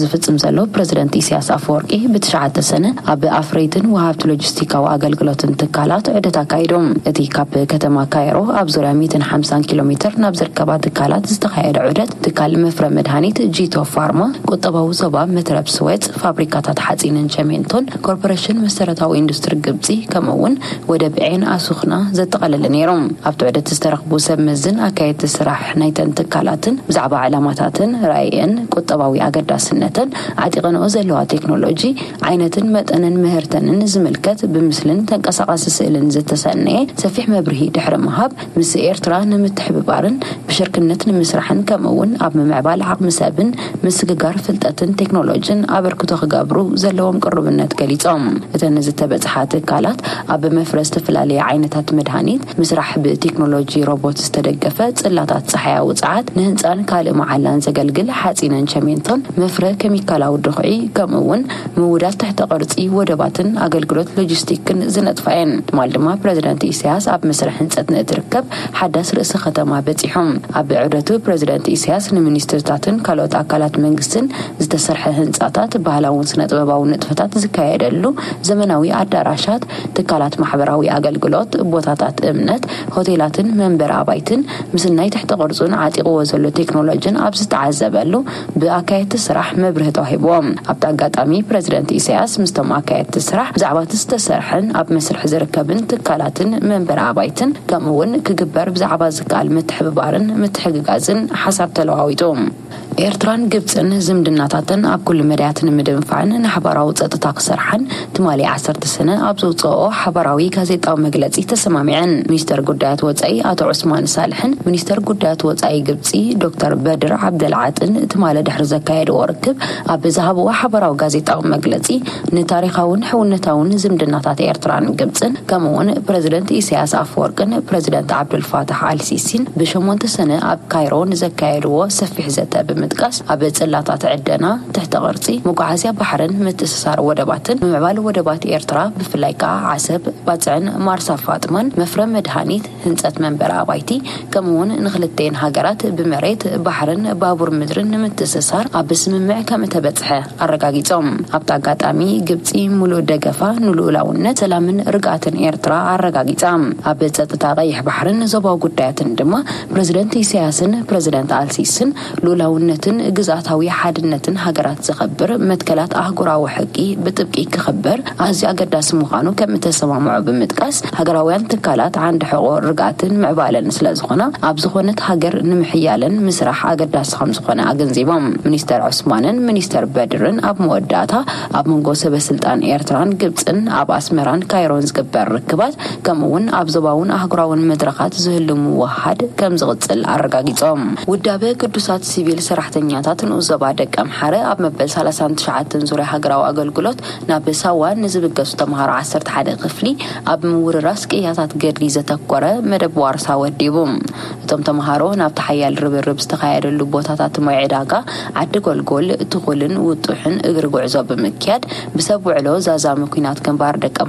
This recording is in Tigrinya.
ዝፍጽም ዘሎ ፕረዚደንት ኢሳያስ ኣፈወርቂ፣ ብትሽዓተ ሰነ ኣብ ኣፍረይትን ወሃብቲ ሎጂስቲካዊ ኣገልግሎትን ትካላት ዑደት ኣካይዱ። እቲ ካብ ከተማ ካይሮ ኣብ ዙርያ ሚእትን ሓምሳን ኪሎ ሜትር ናብ ዝርከባ ትካላት ዝተኻየደ ዑደት፣ ትካል መፍረ መድሃኒት ጂቶ ፋርማ፣ ቁጠባዊ ዞባ መትረብ ስዌጽ፣ ፋብሪካታት ሓጺንን ቸሜንቶን፣ ኮርፖሬሽን መሰረታዊ ኢንዱስትሪ ግብጺ፣ ከምኡ እውን ወደብ ዔን ኣሱኽና ዘጠቓለለ ነይሩ። ኣብቲ ዑደት ዝተረኽቡ ሰብ መዝን ኣካየድቲ ስራሕ ናይተን ትካላትን ብዛዕባ ዕላማታትን ራእየን፣ ቁጠባዊ ኣገዳስነተን፣ ዓጢቐንኦ ዘለዋ ቴክኖሎጂ፣ ዓይነትን መጠንን ምህርተንን ዝምልከት ብምስልን ተንቀሳቓሲ ስእልን ዝተሰነየ ሰፊሕ መብርሂ ድሕሪ ምሃብ፣ ምስ ኤርትራ ንምትሕብባርን ብሽርክነት ንምስራሕን፣ ከምኡ እውን ኣብ ምምዕባል ዓቕሚ ሰብን ምስግጋር ፍልጠትን ቴክኖሎጂን ኣበርክቶ ክገብሩ ዘለዎም ቅሩብነት ገሊጾም። እተን ዝተበጽሓ ትካላት ኣብ መፍረ ዝተፈላለየ ዓይነታት መድሃኒት፣ ምስራሕ ብቴክኖሎጂ ሮቦት ዝተደገፈ ጽላታት ጸሓያዊ ጸዓት፣ ንህንጻን ካልእ መዓላን ዘገልግል ሓጺንን ቸሜንቶን መፍረ ኬሚካላዊ ድኹዒ፣ ከምኡ እውን ምውዳድ ትሕተ ቅርጺ ወደባትን ኣገልግሎት ሎጂስቲክን ዝነጥፋ እየን። ትማል ድማ ፕረዚደንት ኢሳያስ ኣብ መስርሕ ህንጸት ንእትርከብ ሓዳስ ርእሰ ከተማ በጺሖም። ኣብ ዑደቱ ፕረዚደንት ኢሳያስ ንሚኒስትርታትን ካልኦት ኣካላት መንግስትን ዝተሰርሐ ህንጻታት፣ ባህላውን ስነ ጥበባዊ ንጥፈታት ዝካየደሉ ዘመናዊ ኣዳራሻት፣ ትካላት ማሕበራዊ ኣገልግሎት፣ ቦታታት እምነት፣ ሆቴላትን መንበሪ ኣባይትን፣ ምስናይ ትሕተ ቅርጹን ዓጢቕዎ ዘሎ ቴክኖሎጂን ኣብ ዝተዓዘበሉ፣ ብኣካየድቲ ስራሕ መብርሂ ተዋሂብዎም። ኣብቲ ኣጋጣሚ ፕረዚደንት ኢሳያስ ምስቶም ኣካየድቲ ስራሕ ብዛዕባ እቲ ዝተሰርሐን ኣብ መስርሕ ዝርከብን ትካላትን መንበሪ ኣባይትን፣ ከምኡ እውን ክግበር ብዛዕባ ዝከኣል ምትሕብባርን ምትሕግጋዝን ሓሳብ ተለዋዊጡ። ኤርትራን ግብጽን ዝምድናታተን ኣብ ኩሉ መዳያት ንምድንፋዕን ንሓባራዊ ጸጥታ ክሰርሓን ትማሊ ዓሰርተ ሰነ ኣብ ዘውጽኦ ሓባራዊ ጋዜጣዊ መግለጺ ተሰማሚዐን። ሚኒስተር ጉዳያት ወጻኢ ኣቶ ዑስማን ሳልሕን ሚኒስተር ጉዳያት ወጻኢ ግብጺ ዶክተር በድር ዓብደልዓጥን ትማሊ ድሕሪ ዘካየድዎ ርክብ ኣብ ዝሃብዎ ሓባራዊ ጋዜጣዊ መግለጺ፣ ንታሪኻውን ሕውነታውን ዝምድናታት ኤርትራን ግብጽን፣ ከምኡ እውን ፕረዚደንት ኢሳያስ ኣፈወርቅን ፕረዚደንት ዓብዱልፋታሕ ኣልሲሲን ብሸሞንተ ሰነ ኣብ ካይሮ ንዘካየድዎ ሰፊሕ ዘተ ብምጥቃስ፣ ኣብ ጽላታት ዕደና፣ ትሕተ ቅርጺ፣ መጓዓዝያ ባሕርን ምትእስሳር ወደባትን፣ ምምዕባል ወደባት ኤርትራ፣ ብፍላይ ከኣ ዓሰብ፣ ባጽዕን ማርሳ ፋጥማን፣ መፍረ መድሃኒት፣ ህንጸት መንበሪ ኣባይቲ፣ ከምኡ እውን ንክልተን ሃገራት ብመሬት፣ ባሕርን ባቡር ምድርን ንምትእስሳር ኣብ ስምምዕ ከም እተበጽሐ ኣረጋጊጾም። ኣብቲ ኣጋጣሚ፣ ግብጺ ምሉእ ደገፋ ንልኡላውነት፣ ሰላምን ርግኣትን ኤርትራ ኣረጋጊጻ። ኣብ ጸጥታ ቀይሕ ባሕርን ዞባዊ ጉዳያትን ድማ ፕረዚደንት ኢሳያስን ፕረዚደንት ኣልሲስን ልኡላውነትን ግዝኣታዊ ሓድነትን ሃገራት ዘኸብር መትከላት ኣህጉራዊ ሕጊ ብጥብቂ ክኽበር ኣዝዩ ኣገዳሲ ምዃኑ ከም እተሰማምዑ ብምጥቃስ፣ ሃገራውያን ትካላት ዓንዲ ሕቖ ርግኣትን ምዕባለን ስለ ዝኾና፣ ኣብ ዝኾነት ሃገር ንምሕያለን ምስራሕ ኣገዳሲ ከም ዝኾነ ኣገንዚቦም። ሚኒስተር ዑስማንን ሚኒስተር በድርን ኣብ መወዳእታ፣ ኣብ መንጎ ሰበ ስልጣን ኤርትራን ግብጽን፣ ኣብ ኣስመራን ካይሮን ዝግበር ርክባት፣ ከምኡ እውን ኣብ ዞባውን ኣህጉራውን መድረኻት ዝህሉ ምውህሃድ ከም ዝቕጽል ኣረጋጊጾም። ውዳበ ግዱሳት ሲቪል ሰራሕተኛታት ንኡስ ዞባ ደቀምሓረ ኣብ መበል ሰላሳን ትሽዓተን ዙርያ ሃገራዊ ኣገልግሎት ናብ ሳዋ ንዝብገሱ ተምሃሮ ዓሰርተ ሓደ ክፍሊ ኣብ ምውርራስ ቅያታት ገድሊ ዘተኮረ መደብ ዋርሳ ወዲቡ። እቶም ተምሃሮ ናብቲ ሓያል ርብርብ ዝተኻየደሉ ቦታታት ማይ ዕዳጋ፣ ዓዲ ጎልጎል፣ ትኹልን ውጡሕን እግሪ ጉዕዞ ብምክያድ፣ ብሰብ ውዕሎ ዛዛሚ ኲናት ግንባር ደቀምሓረ